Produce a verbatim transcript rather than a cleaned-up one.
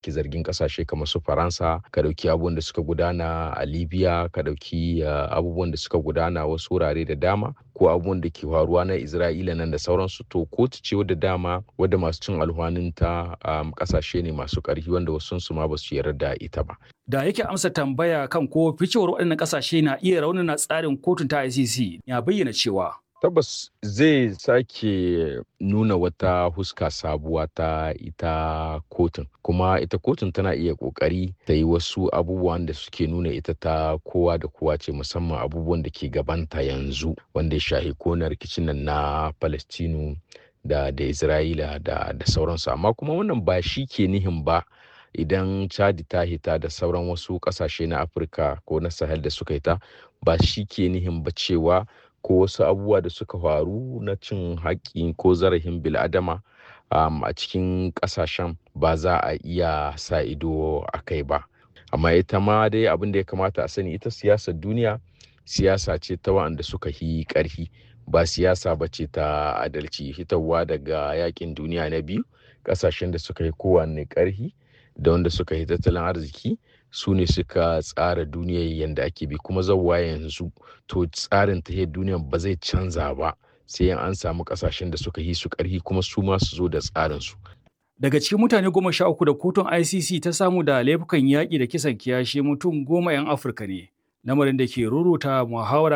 Ke zargin kasashe kamar su Faransa, ka ɗauki abubuwan da suka gudana a Libya, ka ɗauki abubuwan da suka gudana wasu wurare da dama, ko abubuwan da ke faruwa na Isra'ila nan da sauransu. To kotu ce wadda dama wadda masu cin alhwaninta um, kasashe ne masu ƙarfi wanda wasu su ma ba su yarda da ita ba. Da yake amsa tambaya kan ko ficewar waɗannan ƙasashe na iya raunana tsarin kotun ta I C C, ya bayyana cewa Tabbas zai sake nuna wata huska sabuwa ta ita kotun, kuma ita kotun tana iya kokari ta yi wasu abubuwan da suke nuna ita ta kowa da kowa ce, musamman abubuwan da ke gabanta yanzu wanda ya shahi kona rikicin nan na Palestinu da da Isra'ila da da sauransu. Amma kuma wannan ba shi ke nihin ba idan Chadi ta hita da sauran wasu kasashe na Afirka ko na Sahel da suka hita, ba shi ke nihin ba cewa ko wasu abubuwa da suka faru na cin haƙƙi ko zarafin bil'adama um, a cikin ƙasashen ba za a iya sa ido a kai ba. Amma ita ma dai abin da ya kamata a sani, ita siyasar duniya siyasa ce ta wa'anda suka yi ƙarfi, ba siyasa ba ce ta adalci. Hitarwa daga yakin duniya na biyu, ƙasashen da suka yi kowanne ƙarfi da wanda suka yi tattalin arziki su ne suka tsara duniyar yadda ake bi kuma zawwa yanzu. To tsarin tahiyar duniyar ba zai canza ba sai an samu kasashen da suka yi su karhi kuma su ma su zo da tsarin su. Daga cikin mutane goma sha uku da kotun I C C ta samu da laifukan yaƙi da kisan kiyashi, mutum goma 'yan Afirka ne, lamarin da ke ruruta muhawara.